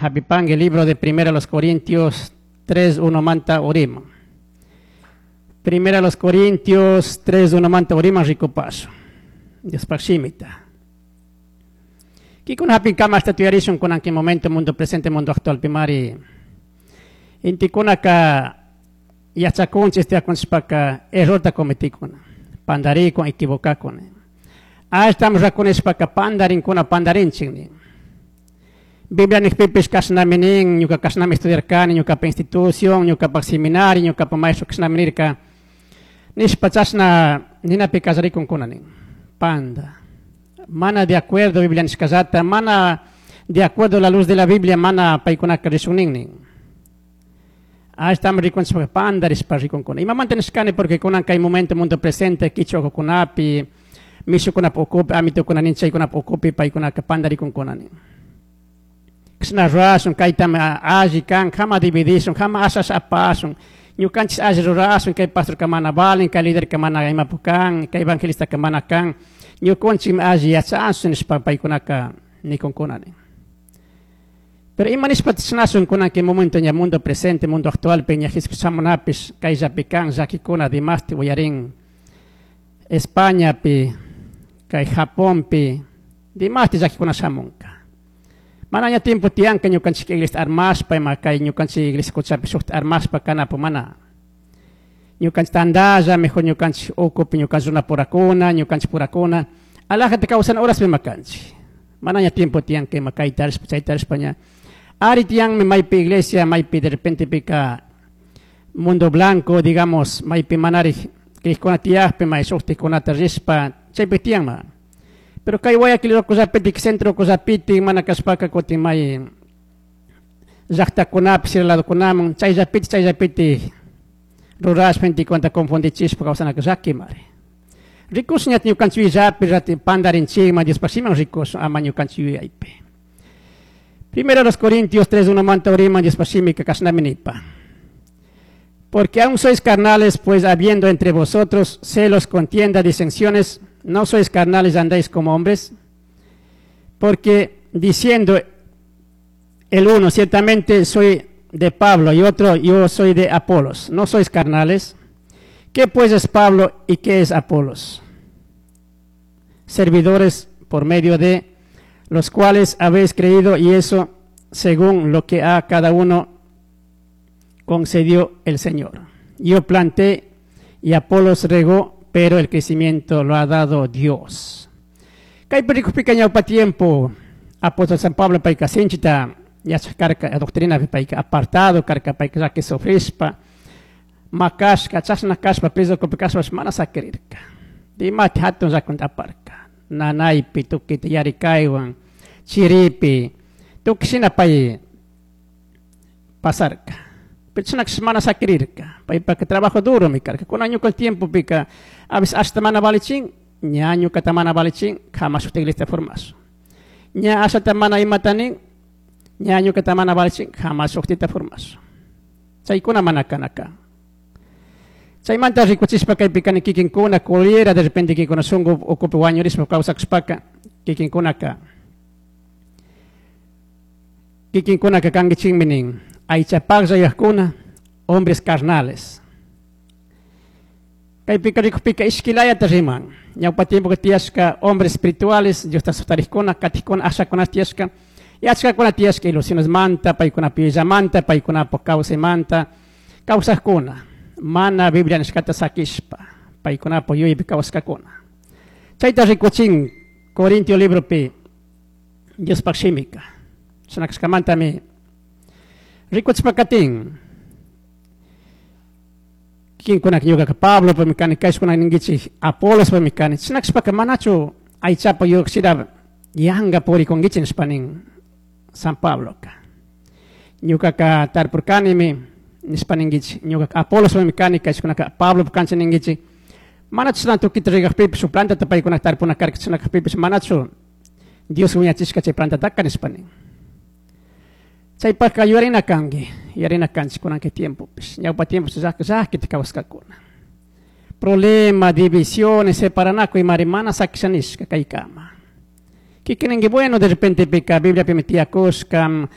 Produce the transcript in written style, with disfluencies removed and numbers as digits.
Japipangui libro de Primera los Corintios 3, 1 manta urima. Primera los Corintios 3, 1 manta urima ricupasun. Diospaj shimita. Kikuna hapinkama hasta tuyarishun kunan kay momento mundo presente mundo actual pimari. Intikunaka yachakunchik estudiakunchishpaka errorta cometikuna. Pandarikun, equivocakun. Ashtami rakunishpaka pandarinkuna pandarinchik nin. Biblia nijpipish kashnami nin, ñuka kashnami estudiarkani, ñukapa institución, ñukapa seminario, ñukapa maestro kashnami nirka. Nishpa chashna ninapi kallarikunkuna nin. Panda. Mana de acuerdo Biblia nishkallata, mana de acuerdo la luz de la Biblia, mana paykunaka rishun nin nin. Ashtami rikunchishpaka pandarishpa rikunkuna. Imamanta nishkani porque kunan kay momento mundo presente kichwa ukukunapi, mishukunapa ukupi, amitukuna nin chaykunapa ukupi paykunaka pandarikunkuna nin. Kashna rurashun, kaytami alli kan, jama dividishun, jama asha asha apashun. Ñukanchik alli rurashun, kay pastorka mana valin, kay liderka mana imapu kan, kay evangelistaka mana kan. Ñukunchikmi alli yachashun nishpa paykunaka nikunkuna nin. Pero ima nishpa chashnashun kunan kay momento ña mundo presente, mundo actual pi ña Jesucristo shamunapish kayllapi kan llakikuna dimasti uyarin Españapi, kay Japonpi, dimasti llakikuna shamunka. Mana ña tiempo tiyanka ñukanchik iglesia armashpa, ima kay ñukanchik iglesia kuchapi shukta armashpa kanapu mana. Ñukanchik tandalla, mejor ñukanchik ukupi ñukanchik runa purakuna, ñukanchik purakuna, alajata kawsana horaspi ima kanchik. Mana ña tiempo tiyanka ima kayta rishpa, chayta rishpa ña. Ari tiyanmi maypi iglesia, maypi de repente pika mundo blanco, digamos, maypi manari crijkuna tiyakpi, may shuktikunata rishpa, chaypi tiyanma. Pero kay Guayaquil ukullapiti, centro ukullapiti, mana kashpaka kutin may llaktakunapi, sierra ladokunaman, chayllapiti, chayllapiti rurashpa intikunata confundichishpa kawsanaka llakimari. Rikushun ña ñukanchik yuyayllapi, rati pandarinchikman, Diospaj shimiwan rikushun, ama ñukanchik yuyaypi. Primero los Corintios 3, 1 manta uriman, Diospaj shimika kashnami nipa. Porque aún sois carnales, pues habiendo entre vosotros celos, contienda, disensiones, ¿no sois carnales, andáis como hombres? Porque diciendo el uno, ciertamente soy de Pablo, y otro, yo soy de Apolos, ¿no sois carnales? ¿Qué pues es Pablo y qué es Apolos? Servidores por medio de los cuales habéis creído, y eso según lo que a cada uno concedió el Señor. Yo planté y Apolos regó, pero el crecimiento lo ha dado Dios. Kay perikupika ñawpa tiempo, apóstol San Pablo payka sinchita yachaj karka, doctrina payka apartado karka, payka llaki sufrishpa, makashka, chashna kashpa, preso kashpa, mana sakirirka. Dimati hatun llakunta aparka. Nanaypi, tukita yarikaywan, chiripi, tukuy shina pay pasarka. Pero chashna kashpa mana sakirirka. Paypaka trabajo duro mi karka. Kunan ñuka el tiempo pika, a veces hasta mana valichin, ña ñukata mana valichin, jamás shuk iglesia formazo. Ña ashata mana imatanin, ña ñukata mana valichin, jamás shuktita formazo. Chaykuna mana kanaka. Chaymanta rikuchishpa kaypi kani kikinkuna culiera, de repente kikinkuna shunku ukupi wañurishpa kawsakushpaka, kikinkunaka. Kikinkunaka kankichikmi nin, aychapaklla yuyajkuna, hombres carnales. Kaypika rikukpika ishkilayata riman. Ñawpa tiempo que tiyashka hombres espirituales, Diosta sutarikkuna, katikkuna, ashakuna tiyashka, y achkakuna tiyashka ilusiones manta, paykuna piyallamanta, paykunapak kawsaymanta, kawsajkuna. Mana Biblia nishkata sakishpa, paykunapak yuyaypi kawsakuna. Chayta rikuchin Corintio libropi Diospaj shimika. Chashna kashkamantami rikuchpa katin. Kikinkunak ñukaka Pablo pa mikani, kayshkunak ninkichik Apolos pa mikani. Chashna kashpaka manachu aychapa yuyakshira yanga purikunkichik nishpa nin San Pabloka. Ñukaka tarpurkanimi nishpa ninkichik, ñukaka Apolos pa mikani, kayshkunaka Pablo pa kancha ninkichik. Manachu chashna tukita rikakpipish, shuk plantata paykunak tarpuna karka chashna kakpipish, manachu Dios wiñachishka chay plantataka nishpa nin. Chaypaka yuyarina kanki, yuyarina kanchik kunan kay tiempopish. Ñawpa tiempo llakita kawsaskakuna. Problema, divisiones, separanakuy imari mana sakisha nishka kaykama. Kikininki, bueno, de repente pika Bibliapimi tiyakushka,